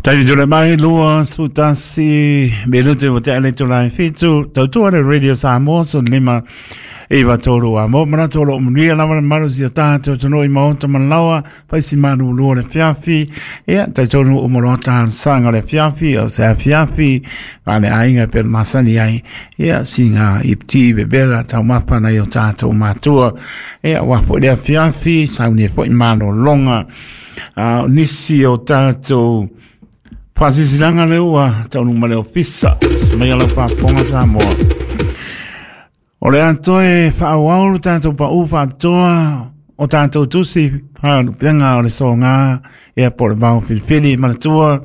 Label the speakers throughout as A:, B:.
A: Taimi tule mai 21 minute o te ale tula i fitu tautua le Radio Samoa so lima iwa tolu a mo mana tolu o manuia lava le malu si o tātou tonu i maota malawa pai si malu lua le fiafi ia tai tonu o moloa tānu sanga le fiafi o se fiafi ma le ainga pe masani ai ia singa i pti bebela tau mapa na i o tātou matua ia wafo le fiafi sauni e foi malo longa nisi o tātou whasisilaga le ua taunu ma le ofisa mai ala faafofoga Samoa. O le atoa e faaauau lo tatou paʻu faapitoa o tatou tusi faalupega o le soga ia po o le vao filifili manatua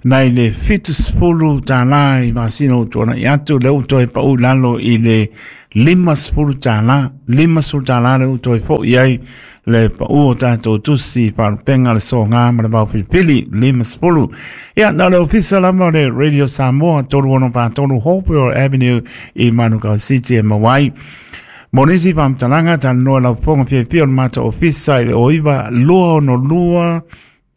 A: nai le $70 i masina ua tuanai atu lea ua toe pau i lalo i le $50, $50 lea ua toe foi ai le pau o tatou tusi faalupega le soga ma le vao filifili 50. Ia, na o le ofisa lava o le Radio Samoa 3643 Hopewell Avenue i Manukau City e maua ai. Mo nisi faamatalaga, talanoa lau fofoga fiafia o le matou ofisa i le 09 262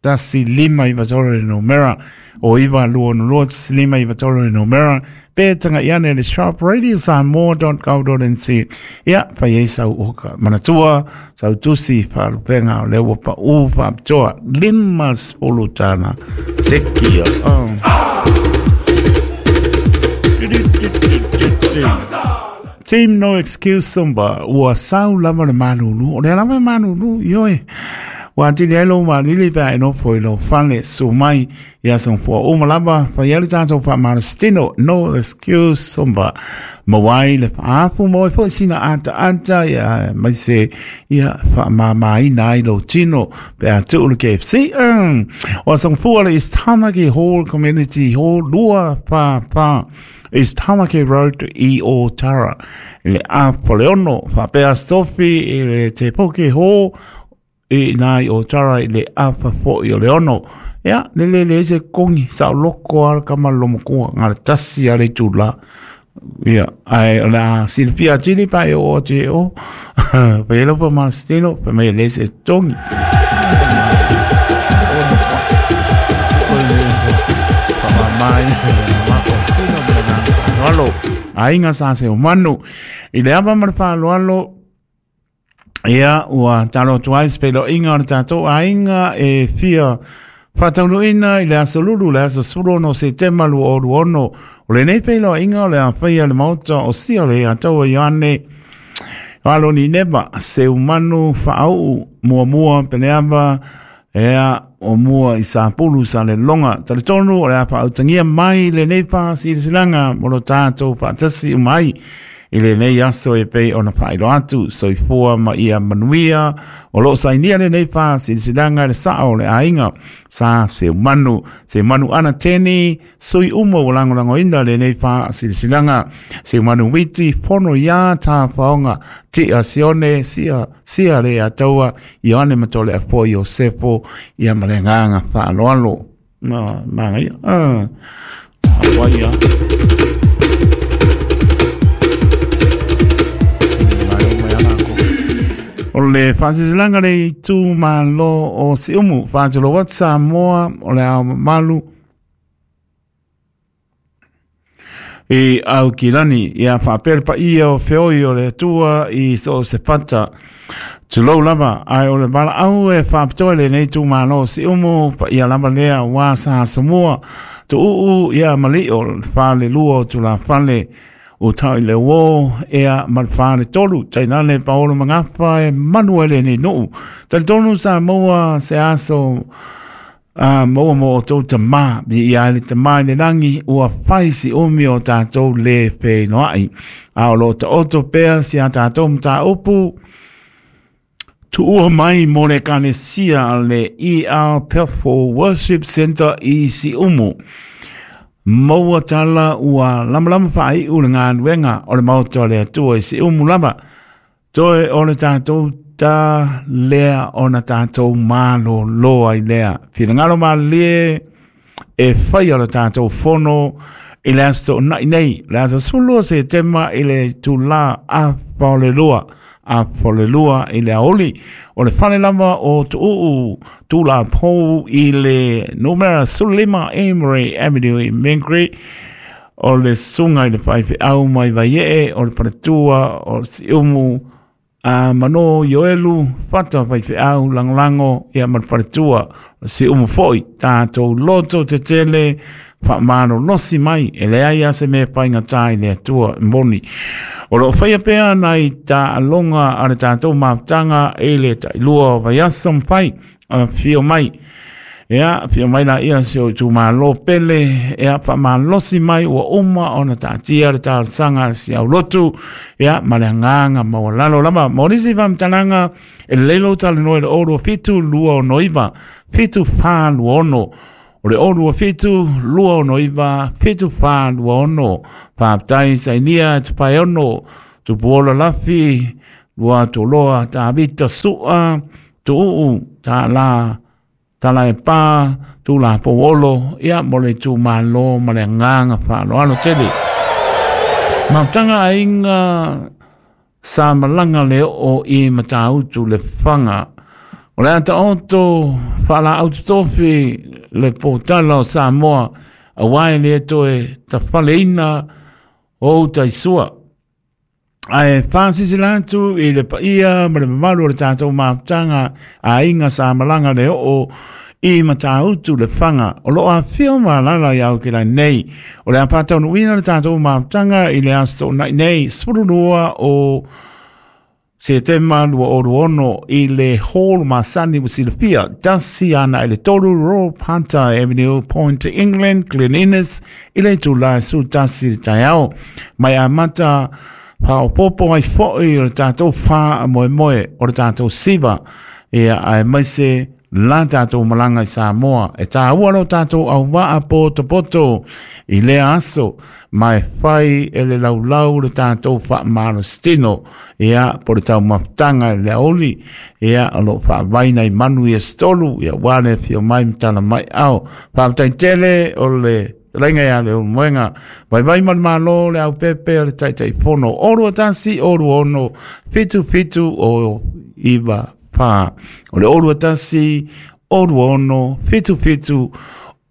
A: 1593 le numera o 922 1593 le numera pe taga'i ane le shop radiosamoa.co.nz ia fai ai sau oka manatua sau tusi faalupega o lea ua paʻu faapitoa $50 sekia oh. Team No Excuse Sumba, ua sau lava le malulu, o lea lava e malulu, ioe. Ua atili ai lou malili pe a e nofo i lou fale, susu mai i aso fua uma lava, fai ai le tatou faamalositino, No Excuse Sumba. Maua ai le faaafu, maua ai foi sina ataata, ia, aemaise, ia, faamamaina ai lou tino, pe a tuu le KFC. O aso fua le East Tamaki Hall Community Hall, 244. East Tamaki Road i Ōtara. I le afa le ono, faapea Stofi i le Te Puke Hall i nā i Ōtara i le afa foi o le ono. Ia, le le le se kongi, sa o loko ala ka malomakua, ngā le tasi a le tūla. Ia, ai o le a silafia atili pa e o atu e o. Pa e lopa ma stilo, pa mai le se tongi. Alo, aiga sa se o manu. I le ava ma le faaaloalo, ia, ua talo atu ai se feiloaiga o le tatou aiga e fia faataunuuina i le aso Lulu, le aso 16 Setema 2026. O lenei feiloaiga o le a faia i le Maota o Siole ia Taua Ioane Aloni Neva, Seumanu Faauu Muamua Peleava, ea o mua i Sapulu Saleloga. Talitonu o le a faautagia mai lenei faasilasilaga mo lo tatou faatasi uma ai i lenei aso e pei ona faailoa atu soifua ma ia manuia o lo o sainia lenei faasilasilaga e le sao o le aiga sa Seumanu, Seumanu ana teni sui uma ua lagolagoina lenei faasilasilaga Seumanu Witi fono iā Tafaoga Tia Sione sia sia le Ataua Ioane Matole Apo Iosefo ia ma le agaga faaaloalo. Ma manaia. Ah. Apo ia. O le faasilasilaga le itumalo o Siumu, faatulou atu Samoa o le ao mamalu i Aukilani, ia faapea le paia o feoi o le Atua i so o se fata. Tulou lava, ae o le valaau e faapitoa i lenei itumalo o Siumu, paia lava lea aua sa Asomua, Tuuu ia Malio, le falelua o Tulafale, Utau i le uō, ea ma le faletolu, tainane Paolo Magafa e manu ai lenei nuu. Talitonu sa maua se aso a maua mo outou tamā, viia ai le Tamā i le lagi, ua fai si umi o tatou le feinoai. A o lo o taoto pea si a tatou mataupu, tuua mai mo le Ekalesia a le ER Pefo Worship Center i Siumu. Maua tala ua lamalama faaiu le galuega o le Maota o le Atua i Siumu lava. Toe o le tatou ta lea ona tatou malōlō ai lea. Finagalo malilie e faia le tatou fono i le aso Toonai nei, le aso 12 Setema i le itula afa o le lua. Afolelua i le aoauli. O le fale lava o Tuuu Tulapou i le numera 15 Amory Avenue i Mangere, o le susuga i le faifeau mai Vaiee, o le faletua o Siumu a Mano Ioelu Fata faifeau lagolago ia ma le faletua o Siumu foi. Tatou loto tetele faamalolosi mai, e leai lava se mea e faigata i le Atua e moni. O lo o faia pea nai taaloga a le tatou mafutaga i le tailua o vaiaso ma fai, afio mai. Ia, afio mai la ia si o itumalo pele, ia faamalosi mai ua uma ona taatia le talosaga a si aulotu, ia ma le agaga maualalo lava. Mo nisi faamatalaga, e lelei lou talanoa i le 027 269 7426. O le 027 269 7426. Faafetai sainia e te paeono, Tupuola Lafi, Luatoloa Tavita Sua, Tuuu Tala Talaepa, Tulapo Olo, ia mo le itumalo ma le agaga faaaloalo tele. Mafutaga aiga sa malaga le oo i Matautu le Faga. O le a taoto faalaau totofi le potala o Samoa, aua e le toe tafaleina o uta i sua. Ae faasilasila atu i le paia ma le mamalu o le tatou mafutaga aiga sa malaga le oo i Matautu le Faga, o lo o afifio ma alaala i Aotearoa nei. O le a faataunuuina le tatou mafutaga i le Aso Toonai nei, 12 o Setema 2026 i le Hall masani ua silafia, 1 6 3 Royal Hunter Avenue, Point England, Glen Innes, i le itula e 11 i le taeao. Mai amata faaopoopo ai foi o le tatou faamoemoe o le tatou siva, ia aemaise la tatou malaga i Samoa. E tāua lo tatou auvaa potopoto i lea aso, ma e fai e le laulau le tatou faamalositino, ia po le taumafataga i le aoauli, ia o lo o faavaina i manu i aso 3, ia ua le afio mai ma tala mai ao. Faafetai tele o le Fetalaiga ia Leulumoega, Vaivai ma le Malo, le Aupepe o le Taitaifono, 021 026 77 o 9 4. O le 021 026 77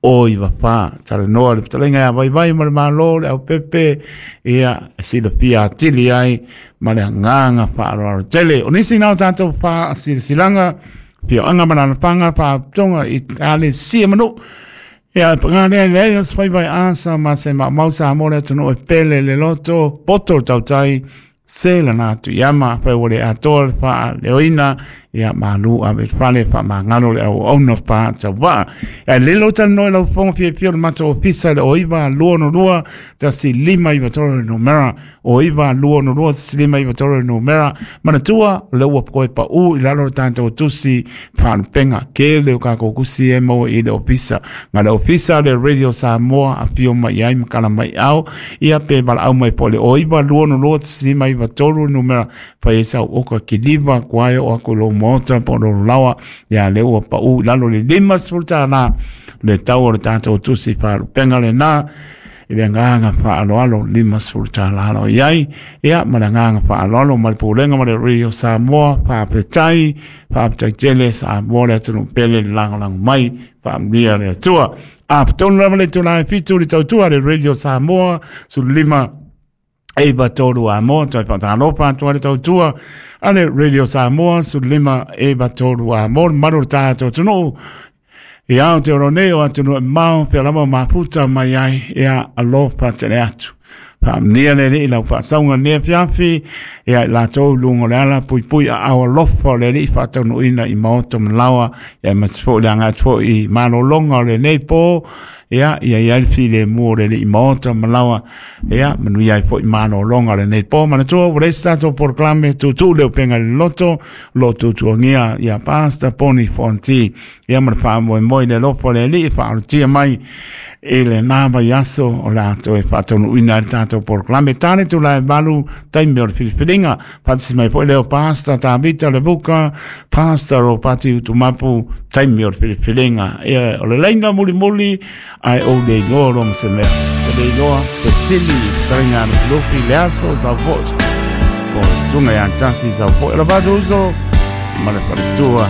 A: o 9 4. Talanoa le fetalaiga ia Vaivai ma le Malo, le Aupepe, ia silafia atili ai ma le agaga faaaloalo tele. O nisi na o tatou faasilasilaga, afioaga ma alaalafaga, faalapotopotoga i ekalesia ma nuu. Ia, e paga lea, leai o se faivai asa ma se maumau Samoa le atunuu e pele le loto, poto le tautai, se lana atu i ama, fai ua le atoa le faaleoina, ia malu ave i fale faamagalo le auauna faatauvaa. Ia le lo talanoa i lau fofoga fiafia o le matou ofisa i le 09 262 1593 numera, 09 262 1593 numera. Manatua, o lea ua toe pau i lalo o le tatou tusi faalupega. Tele o tatou tusi e maua i le ofisa. Na le ofisa le Radio Samoa afio mai ai ma tala mai ao, ia pe valaau mai po le 09 262 1593 numera fai ai sau oka kiliva kuai o aku lo maota po lo lawa, ia le ua pau i lalo le $50 le tau o le tatou tusi faalupega lena. I le agaga faaaloalo $50 lo i ai, ia ma le agaga faaaloalo ma le pulega ma le Radio Samoa. Faafetai, faafetai tele Samoa le atunuu pele le lagolago mai, faamanuia le Atua. A tonu lava le itula e 7 le tautua le Radio Samoa 15 9 3 a moa, toe faatalofa atu ai le tautua a le Radio Samoa 15 9 3 a moa, le mamalu o le tatou atunuu i Aotearoa nei o atunuu e mamao, pea lava mafuta mai ai, ia alofa tele atu. Faamanuia le Alii i lau faasauga lenei afiafi, ia i latou i luga o le ala, puipui aao alofa o le Alii faataunuuina i maota ma laoa, ia aemaise foi le agai atu foi i malologa o lenei po, ia ia i ai le filemu o le Alii maota ma laoa, ia manuia ai foi malologa o lenei po. Manatua ua leai se tatou polokalame, tuutuu le upega i le loto, lo tuutuagia ia Pastor Poni Fonti, ia ma le faamoemoe i le alofa o le Alii e faaolotia mai i lena vaiaso o le a toe faataunuuina ai le tatou polokalame. Tale tula e 8 taimi o le filifiliga. Faatasi mai foi leo Pastor Tavita Levuka, Pastor Ropati Utumapu, taimi o le filifiliga. Ia, o le laina mulimuli, ae ou le iloa lo ma se mea. Te le iloa, fesili, fetalaiga a Lufilufi, le aso sau foi. Po susuga ia Tasi Saufo'i, o le matou uso ma le faletua.